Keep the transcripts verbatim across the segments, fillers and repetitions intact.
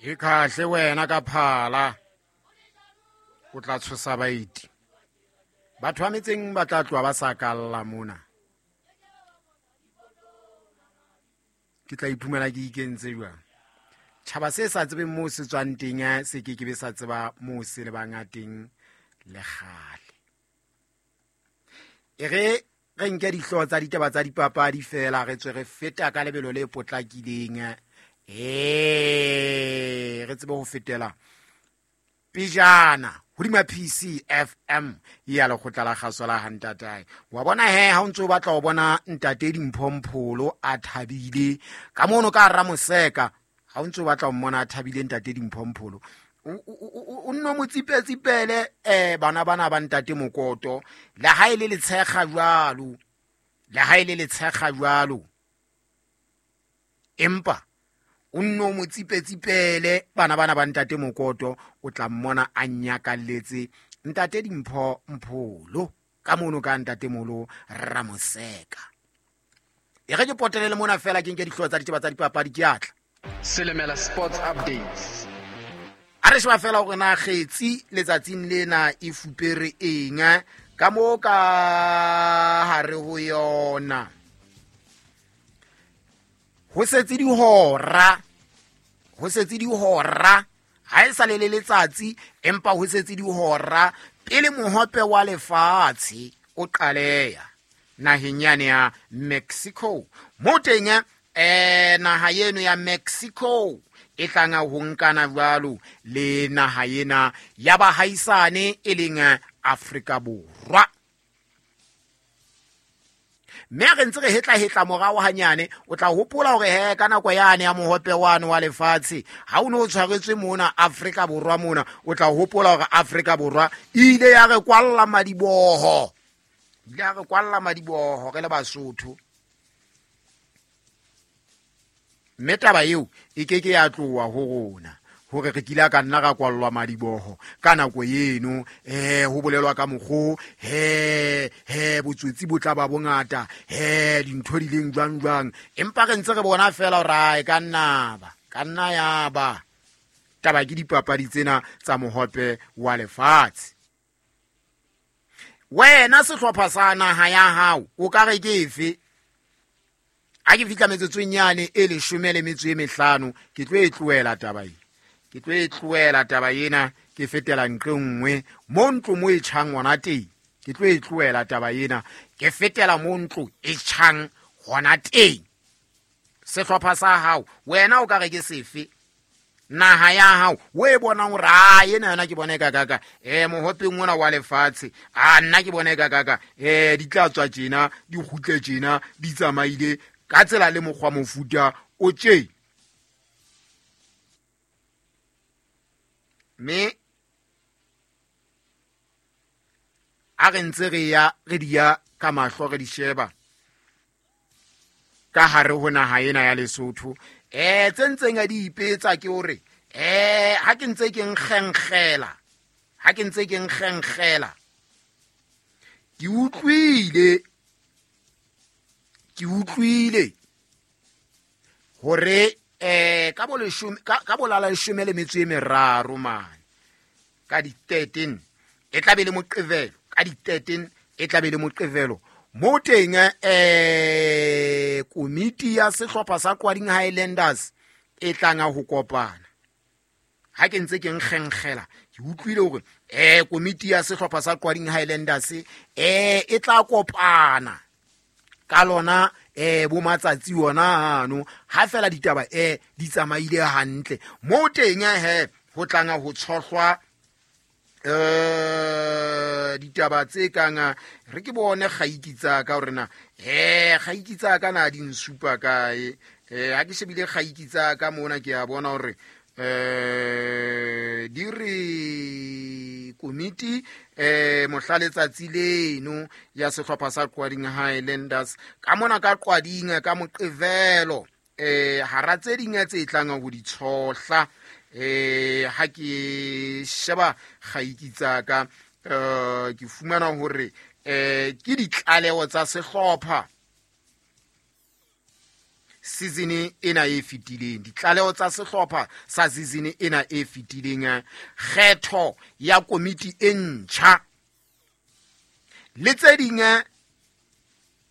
E kahle wena ka phala o tla tshosa baeti. Batho ba metseng ba tla tloha ba sa kalla mona. Ke tla iphumana ke ikentse jwang? Tjhaba se sa tsebeng moo se tswang teng se ke ke be sa tseba moo se lebang teng le kgale. E re re nke dihlooho tsa ditaba tsa dipapadi fela re tswe re feta ka lebelo le potlakileng. Eh, re tsebe ho fetela pejana hodima P C F M ya lekgotla la kgaso la Hantatae. Wa bona he ha o ntso o batla ho bona ntate Dimphompholo a thabile ka mono ka Ramoseka, ha o ntso o batla ho mmona a thabile ntate Dimphompholo, o nno mo tsipetsipele eh bana bana ba ntate Mokoto, le ha e le letshekga jwalo, le ha e le letshekga jwalo, empa o nno mo tsipetsipele bana bana ba ntate Mokoto, o tla mmona a nyakalletse ntate Dimpho Mpholo ka mono ka ntate Molo Ramoseka. E re ke potelele mona fela ke nke dihlooho tsa ditaba tsa dipapadi ke atla. Selemela Sports Updates. A re sheba fela hore na kgetsi letsatsing lena e fupere eng ka mo ka hare ho yona. Ho setse dihora, ho setse dihora, ha e sa le le letsatsi empa ho setse dihora pele mohope wa lefatshe o qaleya naheng yane ya Mexico. Mo teng eh naha eno ya Mexico e tlanga ho nkana jwalo le naha ena ya bahaisane e leng Afrika Borwa. Mme re ntse re hetla hetla morao hanyane, o tla hopola hore he ka nako yane ya mohope wane wa lefatshe ha o no o tshwaretswe mona Afrika Borwa mona, o tla hopola hore Afrika Borwa e ile ya re kwalla madiboho, ile ya re kwalla madiboho re le Basotho. Mme taba eo e ke ke ya tloha ho rona hore re kile ka nna ra kwallwa madiboho ka nako eno. Eh ho bolelwa ka mokgo he he botsotsi bo tla ba bongata, he dintho di leng jwang jwang, empa re ntse re bona fela hore ai ka nna ba ka nna ya ba taba ke dipapadi tsena tsa mohope wa lefatshe. Wena sehlopha sa naha ya hao o ka re ke efe? Ha ke fihla metsotsong yane e leshome le metso e mehlano ke tlo e tlohela taba ena, ke tlo e tlohela taba ena, ke fetela nqe nngwe mo ntlo mo e tjhang hona teng. Ke tlo e tlohela taba ena, ke fetela mo ntlo e tjhang hona teng. Sehlopha sa hao wena o ka re ke sefe? Naha ya hao o e bonang hore a ena yona ke bona e kakaka, eh mohopeng ona wa lefatshe a nna ke bona e kakaka, eh di tla tswa tjena di kgutle tjena di tsamaile ka tsela le mokgwa mofuta o tje. Mme a re ntse re ya re di ya ka mahlo re di sheba ka hare ho naha ena ya Lesotho, eh tse ntseng a di ipetsa ke hore eh ha ke ntse ke nkgenkgela, ha ke ntse ke nkgenkgela ke utlwile, ke utlwile hore eh ka bo leshome ka ka bolala leshome le metso e meraro mane ka di thirteen e tla be le Moqebelo, ka di thirteen e tla be le Moqebelo mo teng eh komiti ya sehlopha sa Qwading Highlanders e tlanga ho kopana. Ha ke ntse ke nkgenkgela ke utlwile hore eh komiti ya sehlopha sa Qwading Highlanders eh e tla kopana ka lona eh bo matsatsi ona ano ha fela ditaba eh di tsamaile hantle mo teng he ho tlanga ho tshohlwa eh ditaba tse kang re ke bone kgaiki tsa ka hore na eh kgaiki tsa ka na di nsupa kae. Eh ha ke shebile kgaiki tsa ka mona ke a bona hore eh di re komiti eh mohla letsatsi leno ya sehlopha sa Qwading Highlanders ka mona ka Qwading ka Moqebelo eh hara tse ding tse tlang ho di tshohla. Eh ha ke sheba kgaiki tsa ka eh ke fumana hore eh ke ditlaleho tsa sehlopha season ena e fetileng, ditlaleho tsa sehlopha sa season ena e fetileng, kgetho ya komiti e ntjha le tse ding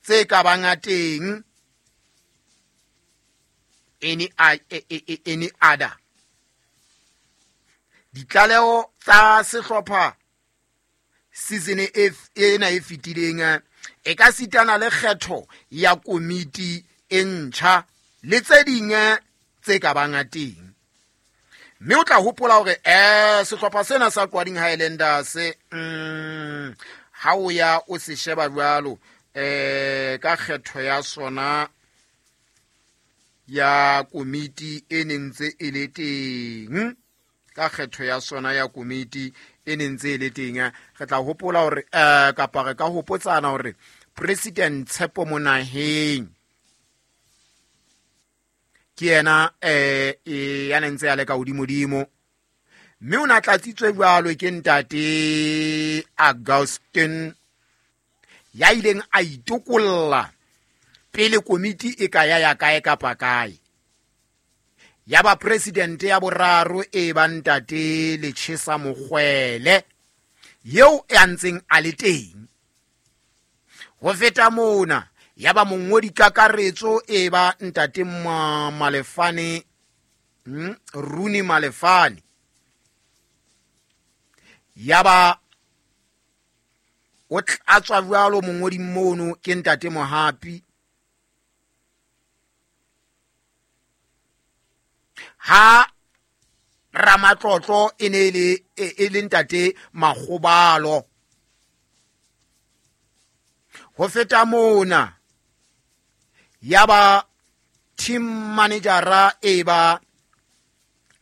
tse ka bang teng, any any other. Ditlaleho tsa sehlopha season ena e fetileng e ka sitana le kgetho ya komiti e ntjha le tse ding tse ka bang teng. Mme o tla hopola hore eh sehlopha sena sa Qwading Highlanders mm ha o ya o se sheba jwalo eh ka kgetho ya sona ya komiti e neng ntse e le teng, ka kgetho ya sona ya komiti e neng ntse e le teng, re tla hopola hore eh kapa re ka hopotsana hore President Tshepo Monaheng ke yena eh ya neng ntse a le ka hodimodimo, mme o na tlatsitswe jwalo ke ntate Augustine ya ileng a itokolla pele komiti e ka ya ya kae kapa kae. Ya ba president ya boraro e ba ntate Lechesa Mokgwele yeo e ntseng a le teng. Ho feta mona ya ba mongodi kakaretso e ba ntate Malefane, mm, Runi Malefane. Ya ba o tlatswa jwalo mongodi mono ke ntate Mohapi. Ha Ramatlotlo e ne le e le ntate Makgobalo. Ho feta mona ya ba team managera e ba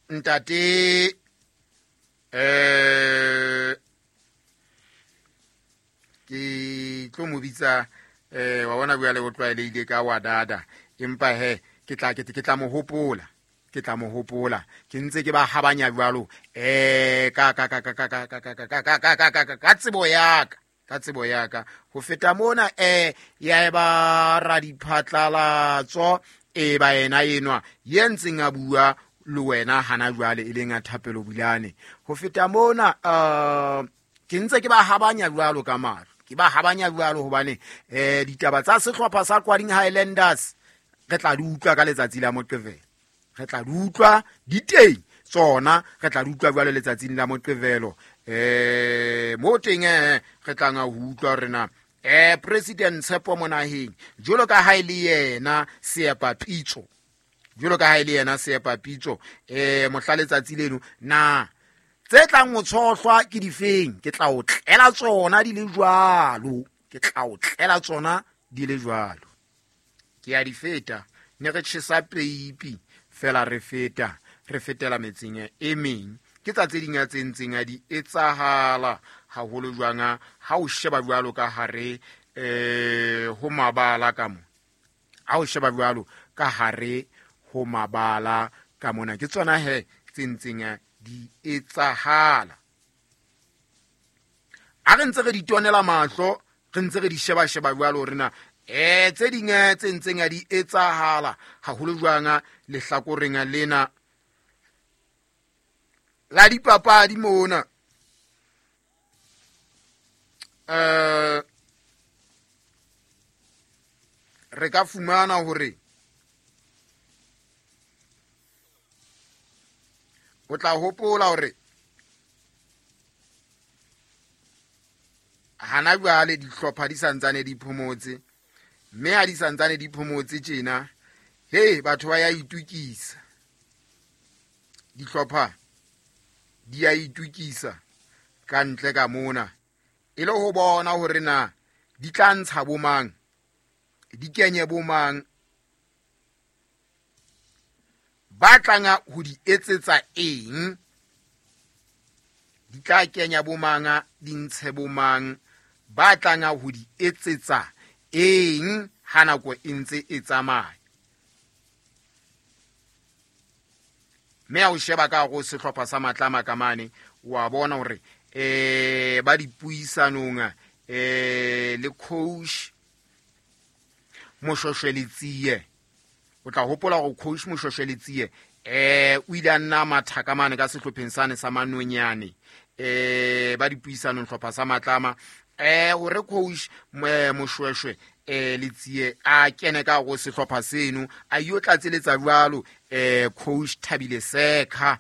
ntate eh ke tlo mo bitsa eh wa bona bua le botlwaelehile ka wa dada, empa he ke tla ke tla mo hopola, ke tla mo hopola ke ntse ke ba habanya jwalo eh ka ka ka ka ka ka ka ka ka ka ka ka ka tsebo ya ka, ka tsebo ya ka. Ho feta mona eh ya ba radiphatlalatso e ba yena enwa ye ntseng a bua le wena hana jwale e leng a Thapelo Bulane. Ho feta mona eh ke ntse ke ba habanya jwalo ka mahlo, ke ba habanya jwalo hobane eh ditaba tsa sehlopha sa Qwading Highlanders re tla di utlwa ka letsatsi la Moqebelo, re tla di utlwa di teng tsona, re tla di utlwa jwalo letsatsing la Moqebelo. Eh mo teng eh re tla nga ho utlwa hore na eh President Tshepo Monaheng jwalo ka ha e le yena seepapitso, jwalo ka ha e le yena seepapitso eh mohla letsatsi leno na tse tlang ho tshohlwa ke difeng, ke tla o tlela tsona di le jwalo, ke tla o tlela tsona di le jwalo. Ke ya di feta ne re tjhesa peipi fela re feta re fetela metseng e meng. Ke tsa tse ding tse ntseng a di etsahala haholo jwang ha o sheba jwalo ka hare eh ho mabala ka mo, ha o sheba jwalo ka hare ho mabala ka mona, ke tsona he tse ntseng di etsahala. A re ntse re di tonela mahlo, re ntse re di sheba sheba jwalo hore na eh tse ding tse ntseng di etsahala haholo jwang lehlakoreng lena la dipapadi mona. Eh re ka fumana hore o tla hopola hore hana jwale dihlopha di santsane di phomotse, mme ha di santsane di phomotse tjena he batho ba ya itukisa, dihlopha di ya itukisa ka ntle ka mona e le ho bona hore na di tla ntsha bomang, di kenye bomang, ba tlanga ho di etsetsa eng, di tla kenya bomang, di ntshe bomang, ba tlanga ho di etsetsa eng ha nako e ntse e tsamaya. Mme ha o sheba ka go sehlopha sa Matlama ka mane wa bona hore eh ba dipuisanong eh le coach Moshoshwe Letsie O tla hopola hore coach Moshweshwe Letsie eh o ile a nna mathaka mane ka sehlopheng sane sa Manonyane eh ba dipuisanong hlopha sa Matlama eh hore coach Moshweshwe eh Letsie a kene ka go sehlopha seno a yo tlatseletsa jwalo eh coach Thabile Sekha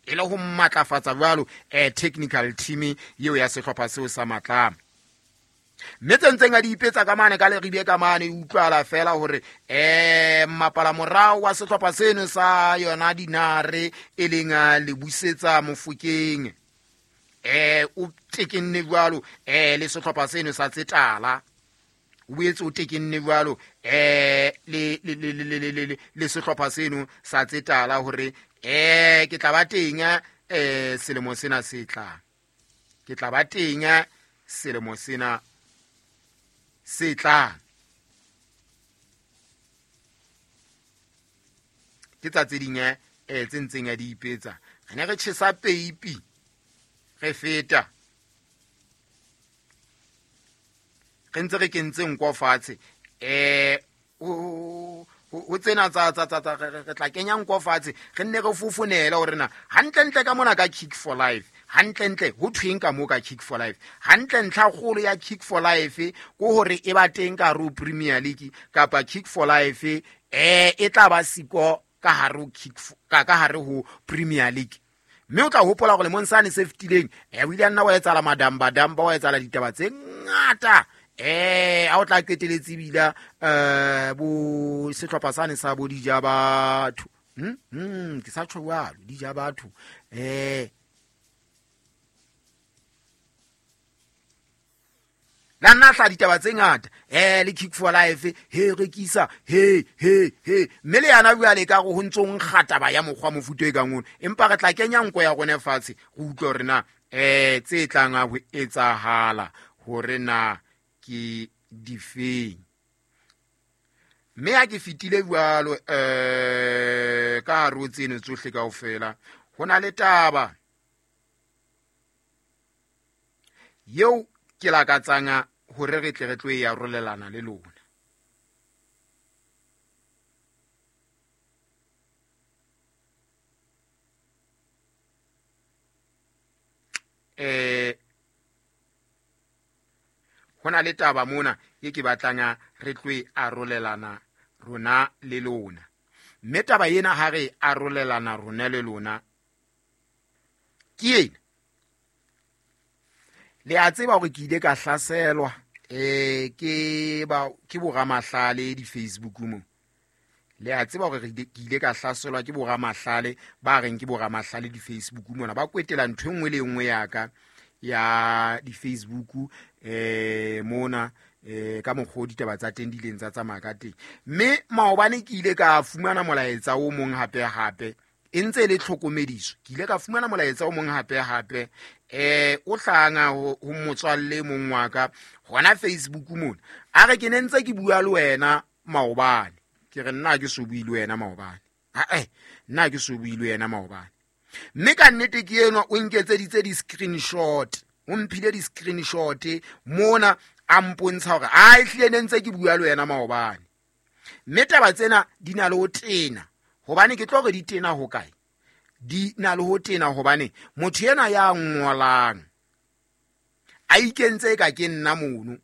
e le ho matlafatsa jwalo eh technical team yeo ya sehlopha seo sa Matlama. Mme tse ntseng a di ipetsa ka mane ka Leribe ka mane utlwala fela hore eh mapala morao wa sehlopha seno sa yona Dinare e leng le busetsa Mofokeng eh o tekenne jwalo eh le sehlopha seno sa Tsetala o boetse o tekenne jwalo eh le le le le le le sehlopha seno sa Tsetala hore eh ke tla ba teng eh selemo sena se tlang, ke tla ba teng selemo sena se tlang. Ke tsa tse ding eh tse ntseng a di ipetsa. Re ne re tjhesa peipi re feta re ntse re kentse nko fatshe eh o tsena tsa tsa tsa re tla kenya nko fatshe re nne re fofonela hore na hantlentle ka mona ka Kick for Life, hantlentle ho thweng ka mo ka Kick for Life, hantle ntlha kgolo ya Kick for Life ko hore e ba teng ka ro Premier League kapa Kick for Life eh e tla ba siko ka hare ho Kick ka ka hare ho Premier League. Mme o tla hopola hore lemong sane se fetileng eh o ile a nna wa etsala madamba damba wa etsala ditaba tse ngata eh a o tla qeteletse bila eh bo sehlopha sane sa bo dija batho hm hm ke sa tjho jwalo dija batho eh la nna hla ditaba tse ngata eh le Kick for Life he rekisa he he he mme le yana jwale ka go ho ntso nkga taba ya mokgwa mofuto e kang ono, empa re tla kenya nko ya rona fatshe go utlwa hore na eh tse tlang ho etsahala hore na ke difeng. Mme ha ke fetile jwalo eh ka hare ho tseno tsohle kaofela ho na le taba yeo ke lakatsang hore re tle re tlo e arolelana le lona. Eh ho na le taba mona e ke batlang re tlo e arolelana rona le lona. Mme taba ena ha re arolelana rona le lona ke ena. Le a tseba hore ke ile ka hlaselwa eh ke ba ke boramahlale di Facebook mo. Le a tseba hore ke ile ka hlaselwa ke boramahlale ba reng ke boramahlale di Facebook mona, ba kwetela ntho e nngwe le nngwe ya ka ya di Facebook eh mona eh ka mokgwa ditaba tsa teng di ileng tsa tsamaya ka teng. Mme maobane ke ile ka fumana molaetsa o mong hape hape e ntse le tlhokomediso. Ke ile ka fumana molaetsa o mong hape hape eh o hlanga ho motswalle mong wa ka hona Facebook mona, a re ke ne ntse ke bua le wena maobane. Ke re nna ke so bue le wena maobane, ha eh nna ke so bue le wena maobane. Mme ka nnete ke enwa o nketseditse di-screenshot, o mphile di-screenshot mona a mpontsha hore a ehlile ne ntse ke bua le wena maobane. Mme taba tsena di na le ho tena, hobane ke tlo re di tena ho kae? Di na le ho tena hobane motho ena ya ngolang a ikentse ka ke nna mono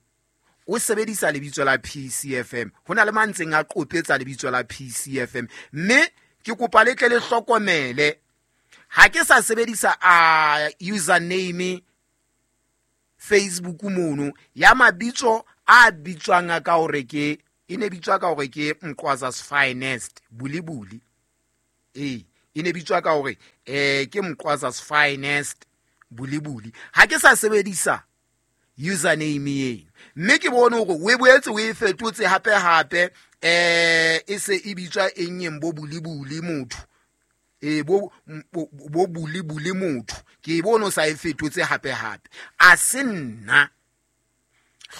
o sebedisa lebitso la P C F M. Ho na le mantseng a qopetsa lebitso la P C F M, mme ke kopa le tle le hlokomele ha ke sa sebedisa a username Facebook mono ya mabitso a bitswang ka hore ke e ne bitswa ka hore ke Mqwaza's Finest Bulibuli. Eh e ne bitswa ka hore eh ke Mqwaza's Finest Bulibuli. Ha ke sa sebedisa username eno, mme ke bone hore o e boetse o e fetotse hape hape eh e se e bitswa eng eng bo Bulibuli motho e bo bo Bulibuli motho, ke e bone o sa e fetotse hape hape. A se nna,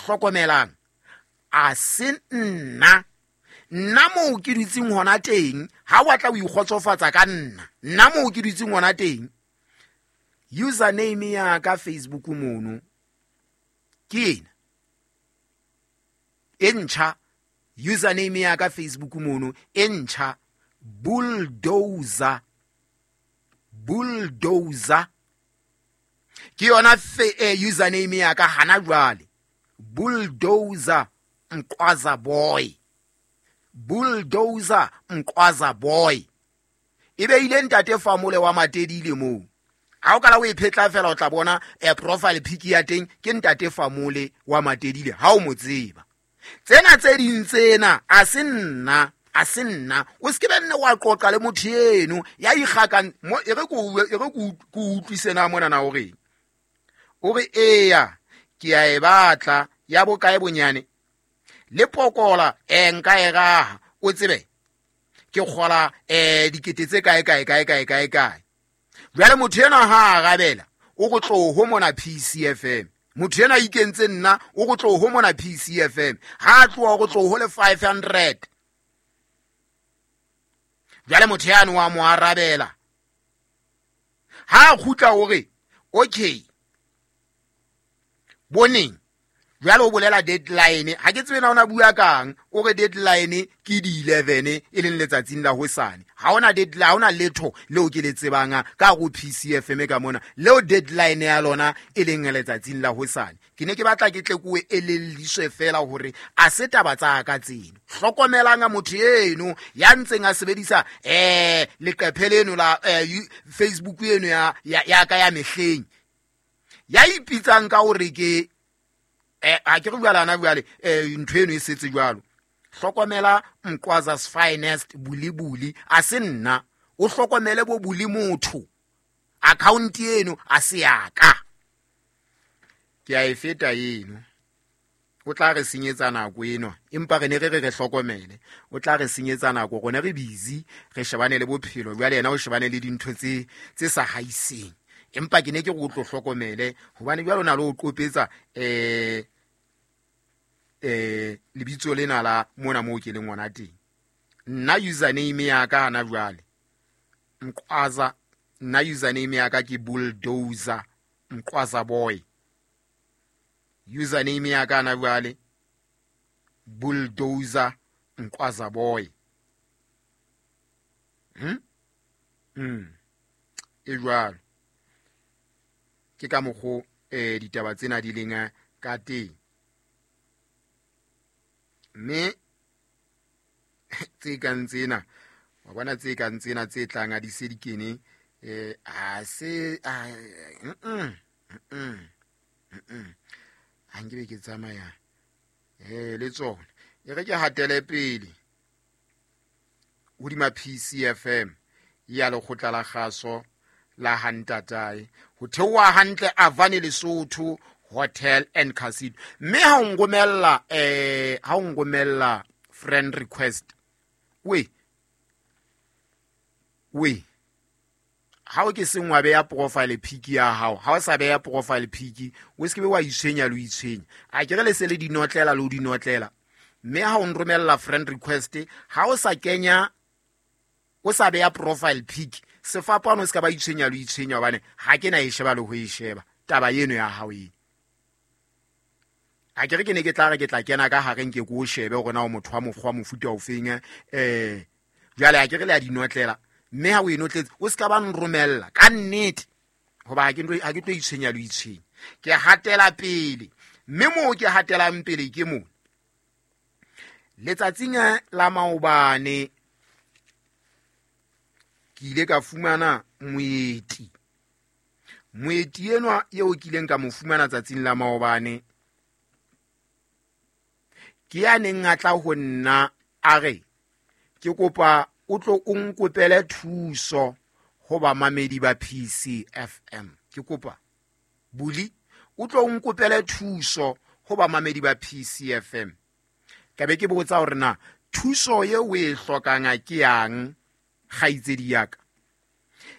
hlokomelang, a se nna nna moo ke dutseng hona teng. Ha wa tla o ikgotsofatsa ka nna, nna moo ke dutseng hona teng, username ya ka Facebook mono ke ena e ntjha Username ya ka Facebook mono e ntjha, Bulldozer. Bulldozer ke yona eh, username ya ka hana jwale. Bulldozer Mqwaza Boy. Bulldozer Mqwaza Boy. E beile ntate Famole wa Matedile moo. Ha o kala o e phetla fela o tla bona e profile pic ya teng ke ntate Famole wa Matedile, ha o mo tseba. Tsena tse ding tsena a se nna, a se nna. O se ke be nne wa qoqa le motho eno ya ikgakang mo, e re ko e re ko utlwise na mona na o reng. O re eya ke a e batla ya bokae bonyane le pokola e nka e raha, o tsebe ke kgola eh dikete tse kae kae kae kae kae kae. Jwale motho ena ha arabela o go tloho mona P C F M. Motho ena ikentse nna o go tloho mona P C F M. Ha tloha go tloho le five hundred. Jwale motho yane wa mo arabela. Ha kgutla hore okay boneng jwale o bolela deadline, ha ke tsebe na ona bua kang, o re deadline ke di eleven e leng letsatsing la hosane. Ha ona deadline, ha ona letho leo ke le tsebang ka go P C F M ka mona leo deadline ya lona e leng letsatsing la hosane. Ke ne ke batla ke tle ko elelliswe fela hore a se taba tsa ka tseno. Hlokomelang motho eno ya ntseng a sebedisa eh leqephe leno la Facebook eno ya ya ka ya mehleng, ya ipitsang ka hore ke eh ha ke re bua lana jwale eh ntho eno e setse jwalo. Hlokomela Mqwaza's finest bulibuli, a se nna. O hlokomele bo buli motho, account eno a se ya ka. Ke a e feta eno, o tla re senyetsa nako eno, empa re ne re re re hlokomele. O tla re senyetsa nako, rona re busy re shebane le bophelo, jwale yena o shebane le dintho tse tse sa haiseng. Empa ke ne ke go tlo hlokomele hobane jwale o na le o qopetsa eh eh lebitso lena la mona moo ke leng ngwana teng. Nna username ya ka hana jwale Mqwaza, nna username ya ka ke Bulldozer Mqwaza Boy. Username ya ka hana jwale Bulldozer Mqwaza Boy. Hm mm e jwalo ke ka mokgo eh ditaba tsena di leng ka teng. Mme tse kang tsena wa bona, tse kang tsena tse tlang a di se di kene eh a se mm mm mm ha nke ke tsamaya eh le tsona. E re ke hatele pele hodima P C F M ya lekgotla la kgaso la Hantatae ho theoha hantle Avane Lesotho Hotel and Casino. Mme ha o ngomella eh ha o ngomella friend request, we we ha o ke sengwa beya profile pic ya hao, ha o sa beya profile pic o se ke be wa itshwenya le itshwenya. A ke re le se le dinotlela le o dinotlela. Mme ha o nromella friend request, ha o sa kenya o sa beya profile pic, sefapano se ka ba itshwenya le itshwenya hobane ha ke na e sheba le ho e sheba taba eno ya hao eno. A ke re ke ne ke tla re ke tla kena ka hareng ke ko shebe hore na o motho wa mokgwa mofuta o feng eh jwale a ke re le a dinotlela. Mme ha o e notletse o se ka ba nromella ka nnete hoba ha ke ntlo ha ke tlo itshwenya le itshwenya. Ke hatela pele, mme moo ke hatelang pele ke mo letsatsing la maobane ke ile ka fumana moeti. Moeti enwa eo ke ileng ka mo fumana tsatsing la maobane ke ya neng a tla ho nna a re ke kopa o tlo o nkopele thuso ho bamamedi ba P C F M. Ke kopa buli o tlo o nkopele thuso ho bamamedi ba P C F M. Ka be ke botsa hore na thuso eo o e hlokang ke yang kgaitsedi ya ka.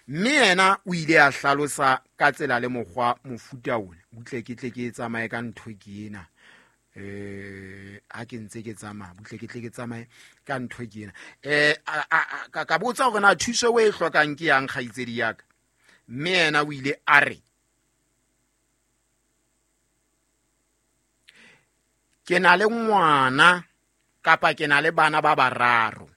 Mme yena o ile a hlalosa ka tsela le mokgwa mofuta ona. Butle ke tle ke tsamaye ka ntho ke ena. Eh ha ke ntse ke tsamaya, butle ke tle ke tsamaye ka ntho ke ena. Eh ka ka botsa hore na thuso o e hlokang ke yang kgaitsedi ya ka. Mme yena o ile a re ke na le ngwana Kapa ke na le bana ba bararo.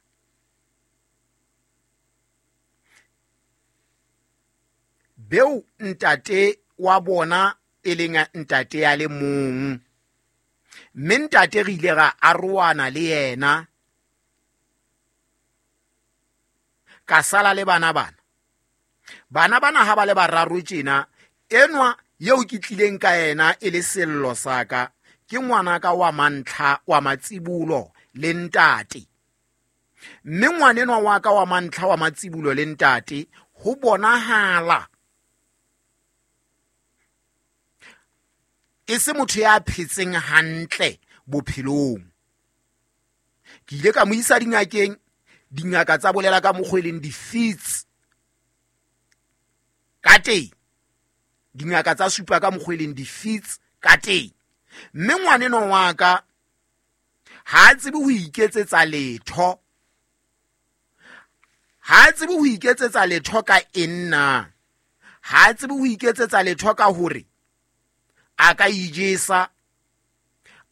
Beo ntate wa bona e leng ntate ya le mong. Mme ntate re ile ra arohana le yena. Ka sala le bana bana. Bana bana ha ba le bararo tjena, enwa eo ke tlileng ka yena e le sello sa ka, ke ngwanaka wa mantlha wa matsibulo le ntate. Mme ngwanenwa wa ka wa mantlha wa matsibulo le ntate ho bonahala e se motho ya phetseng hantle bophelong. Ke ile ka mo isa dingakeng, dingaka tsa bolela ka mokgwa e leng di-fits ka teng. Dingaka tsa supa ka mokgwa e leng di-fits ka teng. Mme ngwanenwa wa ka ha a tsebe ho iketsetsa letho. Ha a tsebe ho iketsetsa letho ka eng na? Ha a tsebe ho iketsetsa letho ka hore a ka ijesa,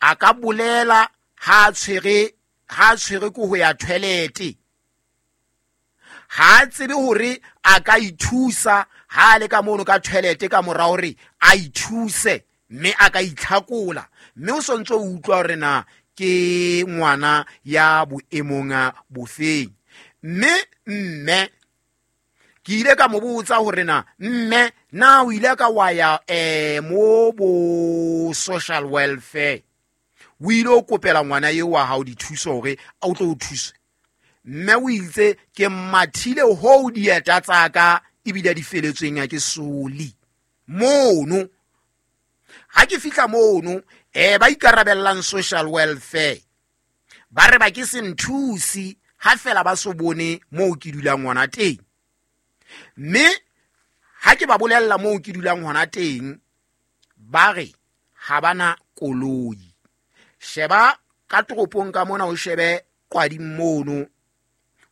a ka bolela ha a tshwere, ha a tshwere ke ho ya toilet. Ha a tsebe hore a ka ithusa ha a le ka mono ka toilet ka mora hore a ithuse mme a ka itlhakola. Mme o sontso o utlwa hore na ke ngwana ya boemong bofeng. Mme mme ke ile ka mo botsa hore na mme na o ile ka wa ya eh mo bo social welfare, o ile o kopela ngwana eo wa hao dithuso hore a o tlo o thuse. Mme o itse ke mathile ho dieta tsa ka ebile di feletsweng ke soli mono. Ha ke fihla mono eh ba ikarabellang social welfare ba re ba ke se nthusi ha fela ba so bone moo ke dulang ngwana teng. Mme ha ke ba bolella moo ke dulang hona teng, ba re ha bana koloi. Sheba ka toropong ka mona, o shebe Qwading mono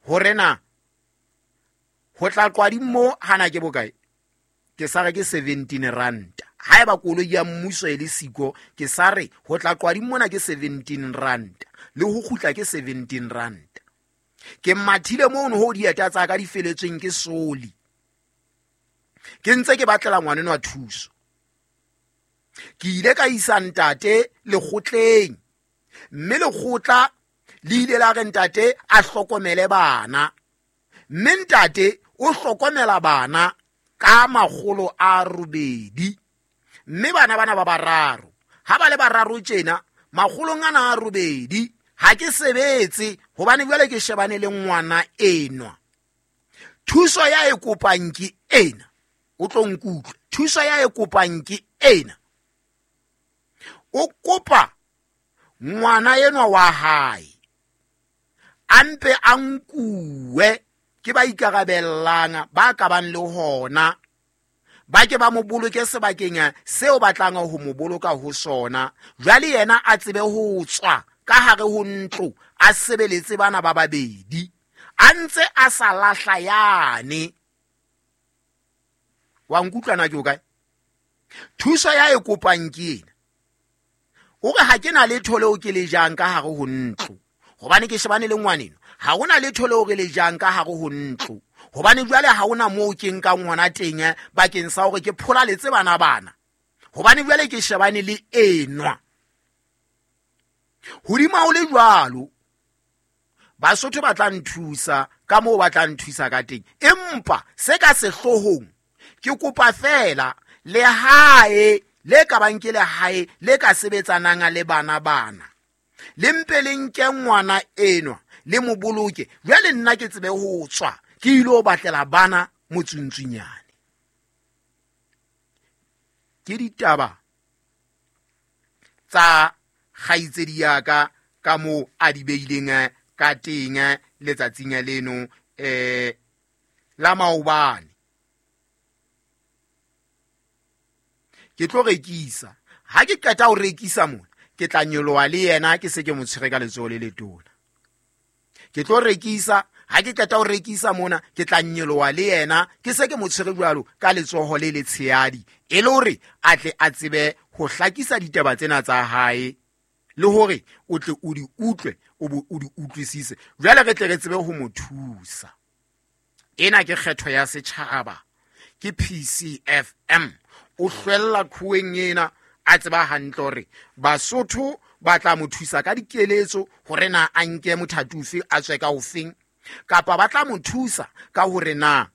hore na ho tla Qwading mo hana ke bokae. Ke sa re ke seventeen rand. Haeba koloi ya mmuso e le siko, ke sa re ho tla Qwading mona ke seventeen rand le ho kgutla ke seventeen rand. Ke mathile mono ho dieta tsa ka di feletsweng ke soli. Ke ntse ke batlela ngwanenwa thuso. Ke ile ka isa ntate lekgotleng, mme lekgotla le ile la re ntate a hlokomele bana. Mme ntate o hlokomela bana ka makgolo a robedi. Mme bana bana ba bararo, ha ba le bararo tjena, makgolong ana a robedi ha ke sebetse hobane jwale ke shebane le ngwana enwa. Thuso ya e kopang ke ena, o tlo nkutlwe. Thuso ya e kopang ke ena. O kopa ngwana enwa wa hae a mpe a nkuwe ke ba ikarabellang ba ka bang le hona, ba ke ba mo boloke sebakeng seo batlang ho mo boloka ho sona. Jwale yena a tsebe ho tswa ka hare ho ntlo a sebeletse bana ba babedi a ntse a sa lahla yane. Wa nkutlwa na ke o kae? Thuso ya e kopang ke ena. O re ha ke na letho leo ke le jang ka hare ho ntlo hobane ke shebane le ngwaneno. Ha hona letho leo re le jang ka hare ho ntlo hobane jwale ha hona moo ke nkang hona teng bakeng sa hore ke pholaletse bana bana hobane jwale ke shebane le enwa. Hodima o le jwalo, Basotho ba tla nthusa ka moo ba tla nthusa ka teng. Empa se ka sehloohong ke kopa fela lehae le ka bang ke lehae le ka sebetsanang le bana bana, le mpe le nke ngwana enwa le mo boloke. Jwale nna ke tsebe ho tswa ke ile ho batlela bana motsuntsunyane. Ke ditaba tsa kgaitsedi ya ka ka moo a di beileng ka teng letsatsing leno eh la maobane. Ke tlo rekisa. Ha ke qeta ho rekisa mona, ke tla nyoloha le yena ke se ke mo tshwere ka letsoho le letona. Ke tlo rekisa, ha ke qeta ho rekisa mona, ke tla nyoloha le yena ke se ke mo tshwere jwalo ka letsoho le letshehadi, e le hore a tle a tsebe ho hlakisa ditaba tsena tsa hae le hore o tle o di utlwe o bo o di utlwisise. Jwale re tle re tsebe ho mo thusa. Ena ke kgetho ya setjhaba, ke P C F M. O hlwella qhoweng ena a tseba hantle hore Basotho ba tla mo thusa ka dikeletso hore na a nke mothati ofe a tswe ka ofeng, kapa ba tla mo thusa ka hore na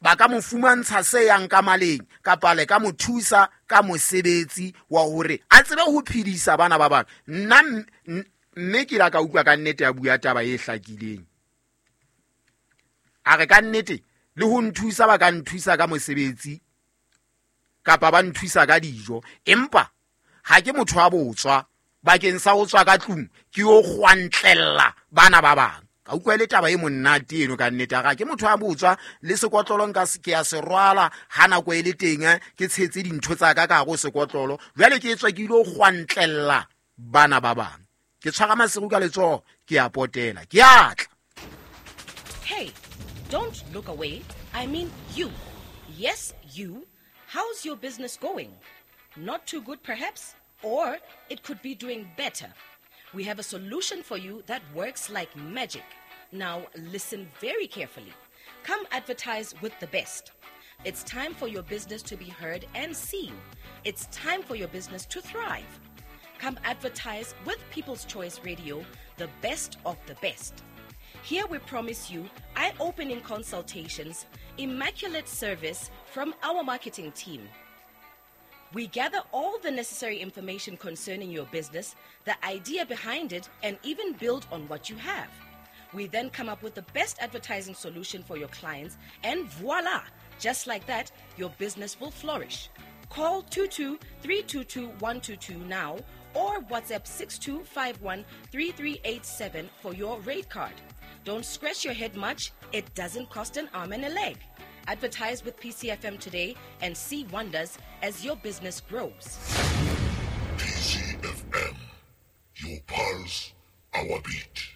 ba ka mo fumantsha se yang ka maleng, kapa le ka mo thusa ka mosebetsi wa hore a tsebe ho phedisa bana ba bang. Nna mme ke la ka utlwa ka nnete ya bua taba e hlakileng. A re ka nnete le ho nthusa ba ka nthusa ka mosebetsi kapa ba nthusa ka dijo, empa ha ke motho wa botswa bakeng sa ho tswa ka tlung ke yo kgwantlella bana ba bang. Ka utlwa le taba e monate eno ka nnete, ga ke motho wa botswa le sekotlolo nka se ke ya se rwala ha nako e le teng, ke tshetse dintho tsa ka ka go sekotlolo, jwale ke tswa ke ile kgwantlella bana ba bang. Ke tshwara masiru ka letsoho, ke a potela, ke a tla. Hey, don't look away. I mean you. Yes, you. How's your business going? Not too good perhaps, or it could be doing better. We have a solution for you that works like magic. Now listen very carefully. Come advertise with the best. It's time for your business to be heard and seen. It's time for your business to thrive. Come advertise with People's Choice Radio, the best of the best. Here we promise you eye-opening consultations, immaculate service from our marketing team. We gather all the necessary information concerning your business, the idea behind it, and even build on what you have. We then come up with the best advertising solution for your clients, and voila! Just like that, your business will flourish. Call two two three two two one two two now or WhatsApp six two five one three three eight seven for your rate card. Don't scratch your head much. It doesn't cost an arm and a leg. Advertise with P C F M today and see wonders as your business grows. P C F M, your pulse, our beat.